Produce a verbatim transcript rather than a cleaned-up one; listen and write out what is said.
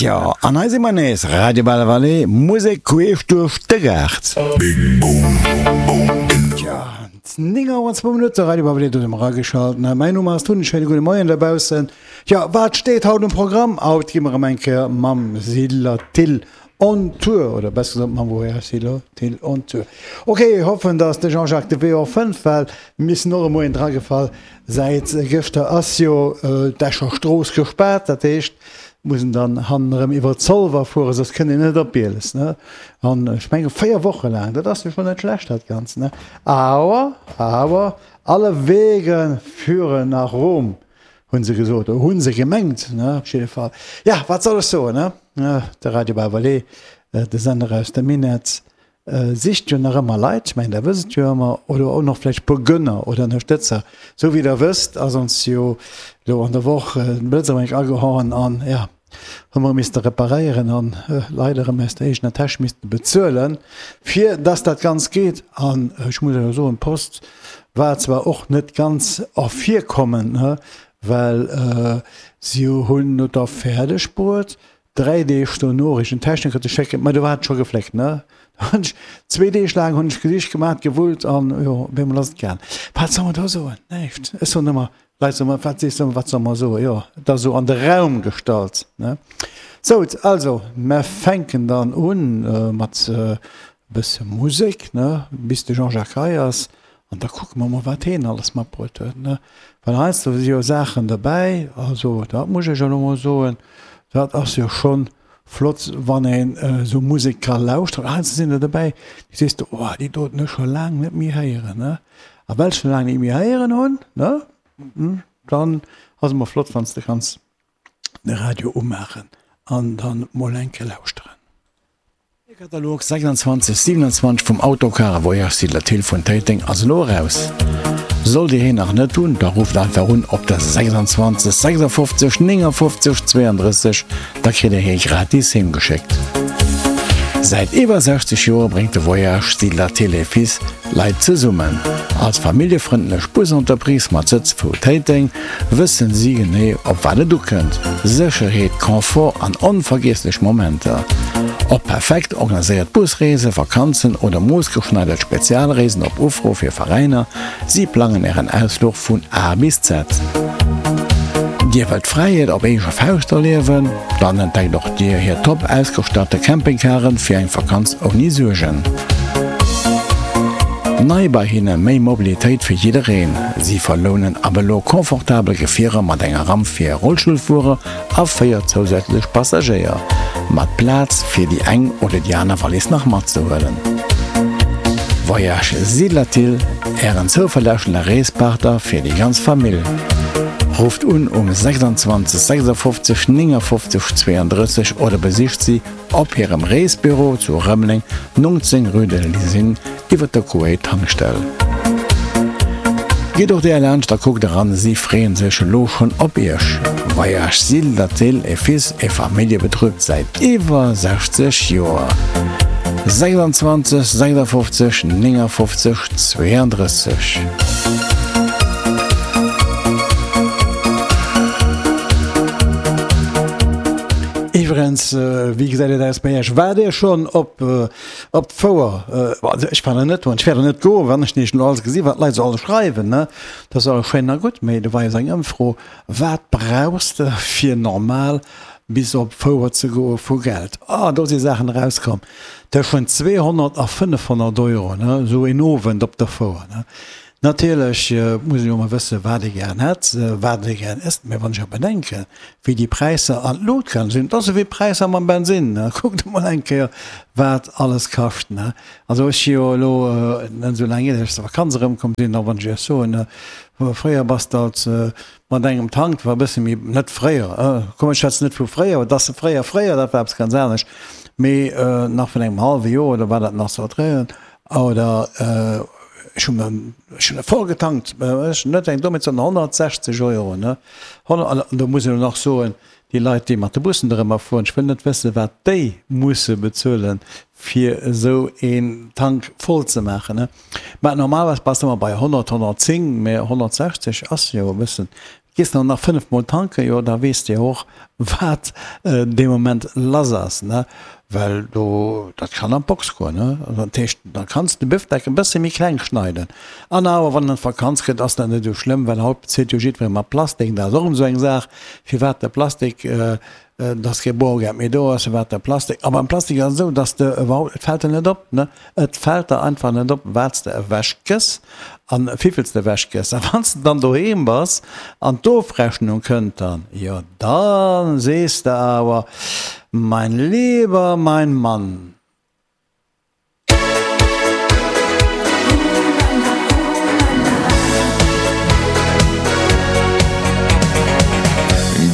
Tjo, an hei si mer nees, Radio Belle Vallée, Musek queesch duerch de Gaart. Tjo, néng Auer an zwou Minutte, Radio Belle Vallée, do si mer erageschalt. Mäin Numm ass Tun, schéine gudde Moien dobaussen. Tjo, wat steet haut um Programm? Haut gi mer erëm eng Kéier mam Siedler Thill on Tour, oder besser gesot mam Voyage Siedler Thill on Tour. Ok, hoffen, dass de Jean-Jacques de Wee och fënnt, well mir sinn och e Moien dragefall. Säit gëschter ass jo d'Escher Strooss gespaart, dat heescht, muss en dann hannen erëm iwwer Zolwer fueren, soss kënnt een net op Bieles, ne? An ech menge véier Woche laang, dat ass jo schonn net schlecht dat Ganzt, ne? Awer, awer, alle Wege führen nach Rom, hunn se gesot, oder hunn se gemengt, ne? Op jidde Fall. Ja, wat soll ech soen, ne? De Radio Bas-Valais, de Sender aus dem Minett, Sicht jo nach ëmmer Leit, ech mengen der wësst et jo ëmmer, oder och nach vläicht e puer Gönner oder Ënnerstëtzer. Sou wéi der wësst, ass ons jo elo an der Woch den Blëtz erëm eng agehauen an ja, hu mer misste reparéieren an leider erëm aus der eegener Täsch misste bezuelen, fir dass dat Ganzt geet. An ech muss elo soen, d'Post war zwar och net ganz ervirkommend, ne, well si hunn et da fäerdeg bruet, Dräi Deeg dono richt en Techniker ze schécken, ma do war et scho gefléckt, ne? Da hunn ech zwee Deeg laang hunn ech gesicht, gemaat, gewullt an jo, op eemol ass et gaang. Wat soll mer do soen? Näischt. Ech soen ëmmer, Leit soen ëmmer, wat sees de ëmmer, wat soll mer soen? Jo, et ass esou an de Raum gestallt, ne? Sout, also, mer fänken dann un mat e bësse Musek, ne, bis de Jean-Jacques hei ass. An da kucke mer mol, wat heen alles matbruet huet, ne? Well heiansdo si jo Saachen derbäi, also dat muss ech elo mol soen, dat ass jo schonn flott, wann een esou Musek ka lauschteren. Heiansdo sinn der derbäi, déi sees de, oh, déi doten hu ech scho laang net méi héieren, ne? A well ech se laang net méi héieren hunn, ne, dann ass et emol flott, wann s de kanns de Radio umaachen an dann mol eng Kéier lauschteren. De Katalog sechsundzwanzeg siewenundzwanzeg vum Autocar Voyage sur la Thill vun Téiteng ass elo eraus. Sollt Dir heen nach net hunn, da rufft einfach un op der sechsundzwanzeg sechsundfofzeg néngundfofzeg zweiunddrësseg, da kritt Dir hee gratis heem geschéckt. Säit iwwer sechzeg Joer bréngt de Voyage sur la Thill et Fils Leit zesummen. Als familljefrëndlech Busentreprise mat Sëtz vu Téiteng wëssen si genee op wat et ukënnt, Sécherheet, Confort an onvergiesslech Momenter. Ob perfekt organiséiert Busreesen, Vakanzen oder moossgeschneidert Spezialreesen op Ufro fir Veräiner, si plangen Ären Ausfluch vun A bis Z. Dir wëllt Fräiheet op eege Fauscht erliewen? Dann entdeckt och Dir hir top ausgestatte Campingcaren fir eng Vakanz ouni Suergen. Nei bei hinne, méi Mobilitéit fir jiddereen. Si verlounen ab elo confortabel Gefierer mat enger Ramp fir Rollstullfuerer a véier zousätzlech Passagéier, mat Plaz fir déi eng oder déi aner Wallis nach matzehuelen. Voyage Siedlerthill, Ären zouverlässege Reespartner fir déi ganz Famill. Rufft un um sechsundzwanzeg sechsundfofzeg néngundfofzeg zweiunddrësseg oder besicht si op hirem Reesbüro zu Rëmeleng, neunzehn rue de l'Usine, iwwer der Kuwait Tankstell. Gitt och där laanscht a kuckt eran, si freeën sech elo schonn op iech. Voyage Siedlerthill et Fils e Familljebetrib säit iwwer sechzeg Joer. sechsundzwanzeg sechsundfofzeg néngundfofzeg zweiunddrësseg. Iwwerens, wéi gesäit et aus bei Iech? Waart Dir schonn op op d'Fouer? Also ech war nach net do an ech wäert och net goen, wann ech nämlech elo alles gesi wat d'Leit esou alles schreiwen, ne? Dat ass alles schéin a gutt, mee do war jo esou eng Ëmfro, Wat brauchs de fir normal bis op d'Fouer ze goe vu Geld? Ah, do si Saachen erauskomm tëschent zweehonnert a fënnefhonnert Euro, ne, esou een Owend op der Fouer, ne. Natierlech muss een jo emol wëssen, wat ee gären hätt, wat ee gären ësst. Mä wann ech awer bedenken, wéi déi Präisser an d'Lut gaange sinn, et ass ewéi d'Präisser mam Bensinn, ne, kuckt emol eng Kéier, wat alles kascht, ne. Also ech si jo elo net esou laang hier, datt ech aus der Vakanz erëmkomm sinn, a wann ech Iech soen, fréier bass de als mat engem Tank, war e bësse méi, net fréier, komm ech schwätzen net vu fréier, et ass fréier, fréier, dat war eppes ganz anescht, mee nach vun engem hallwe Joer oder war dat nach sou dréien, oder ech hunn mer, ech hunn e voll getankt, ech net eng Dommheet, sondern honnertsechzeg Euro, ne, an do muss een elo nach soen, déi Leit, déi mat de Bussen dorëmmer fueren, ech wëll net wëssen, wat déi musse bezuelen, fir esou een Tank voll ze maachen. Mä normalerweis bass de ëmmer bei honnert, honnertzéng, mä honnertsechzeg ass jo e bëssen Gees de nach fënnef mol tanken, jo da weess de och wat dee Moment lass ass, ne, well do, dat kann an d'Box goen, ne. Dat heescht, da kanns de Büfdeck e bësse méi kleng schneiden. An awer wann en d'Vakanz kritt, ass dat net esou schlëmm, well haut bezilt jo jiddweree mat Plastik. Dat ass och erëm esou eng Saach, firwat de Plastik, dass kee Boergeld méi do ass, firwat de Plastik. A beim Plastik ass et esou, dass de iwwerhaupt, et fält der net op, ne, et fält der einfach net op, wat s de ewechgëss an wéivill s de ewechgëss. A wann s de dann doheem bass an d'Ofrechnung kënnt dann, jo da sees de awer, Mein lieber mein Mann,